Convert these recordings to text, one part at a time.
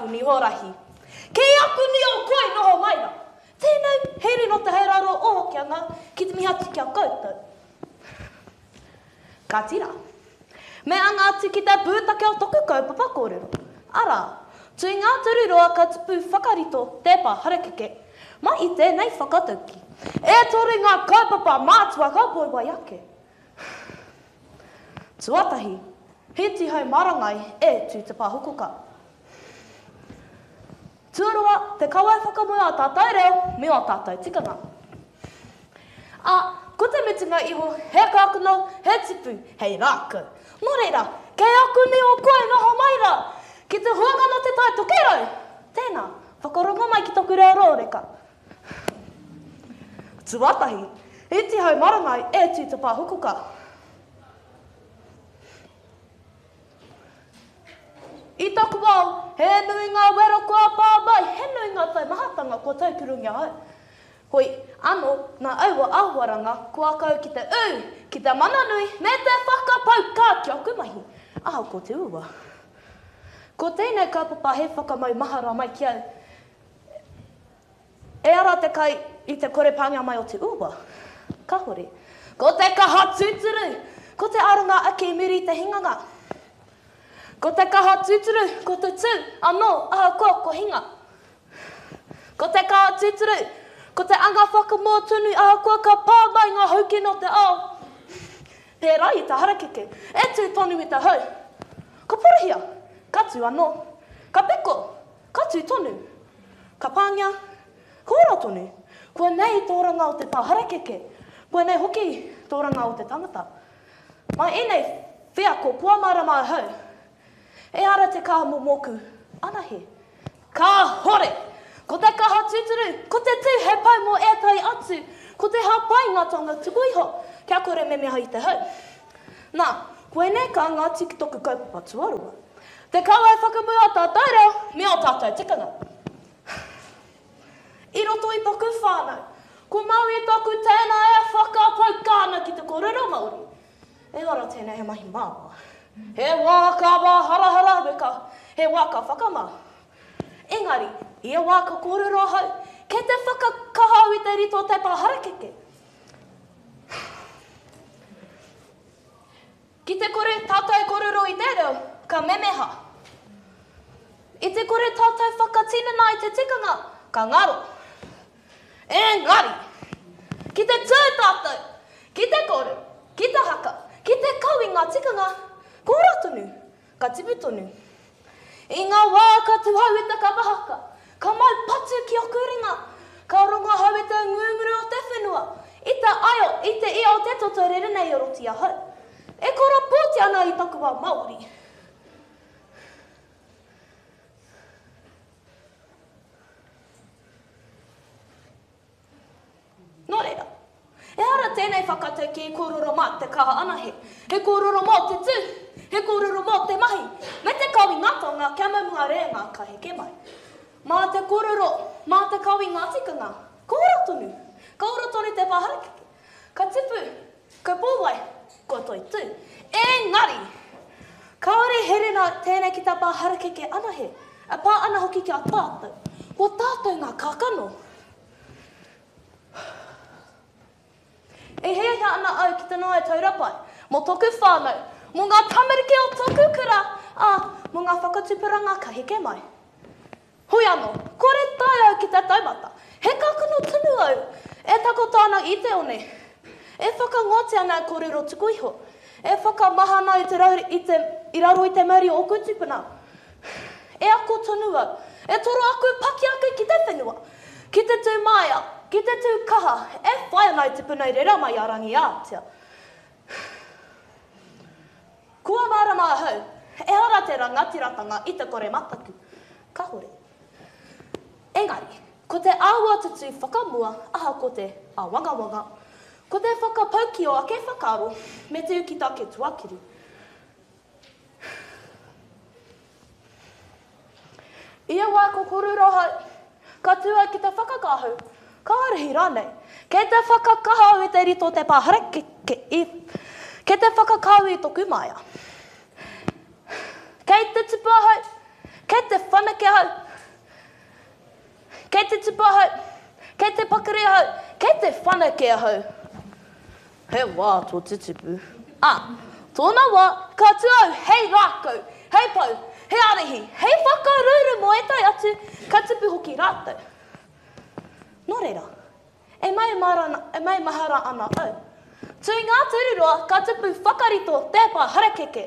aku niho rahi. Ki aku niho koi noho mai ra. Tēnei, he rino te hei raro o Hokianga ki te mihi atu ki a koutou. Kāti rā. Me anga atu ki te pūtake o toku kaupapa kōrero, arā, tui ngā turu roa ka tupu whakarito te pā harakeke. Mai i tēnei whakatauki, e toru ngā kaupapa mātua ka poiwai ake. Tuatahi, he tihau marangai e tū te pāhokoka. Tuarua, te kawe whakamua o tātou reo me ō tātou tikanga. Ā, ko te mutunga iho, he kākano, he tipu, hei rākau. Nō reira, kei aku niho koe noho mai rā, ki te huanga nō Te Tai Tokerau! Tēnā, whakarongo mai ki taku reo rōreka. Tuatahi, i tihau marangai e tū te pāhukuka. I taku ao, he nui ngā wero kua pā mai, he nui ngā taumahatanga kua taukurungia au. Hoi ano, nā aua āhuaranga, kua kau ki te ū, ki te mana nui, me te whakapau kā ki aku mahi, ahakoa te uaua. Ko tēnei kaupapa he whakamaumahara mai ki au, E ara te kai i te kore pāngia mai o te uaua? Kahore. Ko te kaha tūturu, ko te aronga ake i muri i te hinganga. Ko te kaha tūturu, ko te tū anō ahakoa ko hinga. Ko te kaha tūturu, ko te anga whakamua tonu ahakoa ka pā mai ngā haukino o te ao. Pērā i te harakeke, e tū tonu i te hau. Ka porohia, ka tū anō. Ka piko, Ka tū tonu. Ka pāngia. Ka ora tonu. Kua nei te oranga o te pā harakeke. Kua nei hoki te oranga o te tangata. Mai ēnei wheako kua mārama ahau. Ehara te kaha mō mōku anahe. Kāhore! Ko te kaha tūturu, ko te tū hei pou mō ētahi atu, ko te hāpai ngā taonga tuku iho, kia kore memeha i te hau. Nā, koinei ka anga atu ki toku kaupapa tuarua. Te kauae whakamua o tātou reo me ō tātou tikanga. I roto i toku whānau, ko Maui toku tēnā e whakapauka ana ki te kōrero Māori. Ehara tēnei he mahi māmā. He wā ka wāharahara weka, he wā ka whakamā. Engari, ia wā ka kōrero ahau, kei te whakakaha au i te rito o te pā harakeke. Ki te kore tātou korero i te reo, ka memeha. I te kore tātou whakatinana i te tikanga, ka ngaro. Engari, ki te tū tātou, ki te kōrero, ki te haka, ki te kau i ngā tikanga, ka ora tonu, ka tipu tonu. I ngā wā ka tuhau i te kapa haka, ka mau patu ki oku ringa, ka rongo ahau i te ngunguru o te whenua, i te aio, i te ia o te toto rere nei i roto i ahau. E korapōti ana i taku ao Māori. Nō reira, ehara tēnei whakataukī kōrero mā te kaha anahe, he kōrero mō te tū, he kōrero mō te mahi, me te kawe ngā taonga kia mau ngā reanga ka heke mai. Mā te kōrero, mā te kawe ngā tikanga, ka ora tonu, ka ora tonu te pā harakeke, ka tipu, ka pōwai, kua toitū. Engari, kāore he rena tēnei ki tā pā harakeke anahe, e pā ana hoki ki a tātou, ko tātou ngā kākano. E hiahia ana au ki te noho hei taura pai mō tōku whānau, mō ngā tamariki o tōku kura, ā, mō ngā whakatupuranga ka heke mai. Hoi anō, kore tae au ki te taumata, he kākano tonu au e takoto ana i te one, e whakangote ana i kōrero tuku iho, e whakamahana i te rauri, i te, i raro i te mauri o ōku tūpuna. E ako tonu au, e toro aku pakiaka ki te whenua, Ki te tū māia, ki te tū kaha, e whai ana i te puna i rera mai a Rangiātea. Kua mārama ahau, ehara te rangatiratanga i te kore mataku. Kahore. Engari, ko te āhua te tū whakamua ahakoa te āwangawanga, ko te whakapau ki ō ake whakaaro me te ū ki tāke tuakiri. Ia wā ko Korurohau, ka tū au ki te whakakāhau, ka ārahi rānei. Kei te whakakaha au i te rito o te pā harakeke i, kei te whakakāu i toku māia. Kei te tupu ahau, Kei te whanake ahau. Kei te tupu ahau. Kei te pakari ahau. Kei te whanake ahau. He wā tō te tupu. Ā, tōna wā, ka tū au hei rākau, hei pou, hei ārahi, hei whakaruru mō ētahi atu, ka tupu hoki rātou. Nō reira, e maumahara ana au. Tū ngā tūruroa ka tupu whakarito te pā harakeke.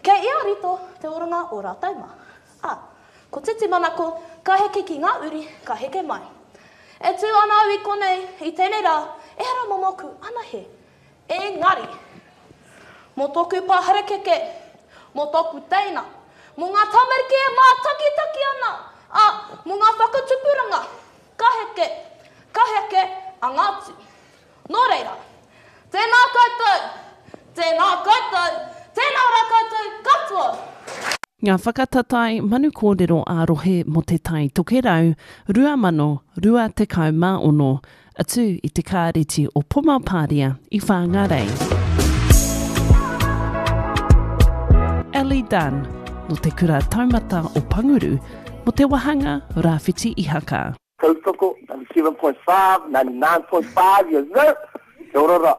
Kei ia rito te oranga o rātou mā. Ā, ko Titimanako ka heke ki ngā uri ka heke mai. E tū ana au i konei i tēnei rā, ehara mō mōku anahe, engari, mō tōku pā harakeke, mō tōku teina, mō ngā tamariki e mātakitaki ana, ā, mō ngā whakatupuranga ka heke, ka heke anga atu. Nō reira, tēnā koutou, tēnā koutou, tēnā rā koutou katoa! Ngā whakatatae manu kōrero ā-rohe mō Te Tai Tokerau 2026, atu i te Kāreti o Pomapāria i Whāngārei. Ellie Dunn, nō Te Kura Taumata o Panguru, mō te wāhanga Rāwhiti Ihaka. Tautoko, 97.5, 99.5, yes sir! Kia ora ra.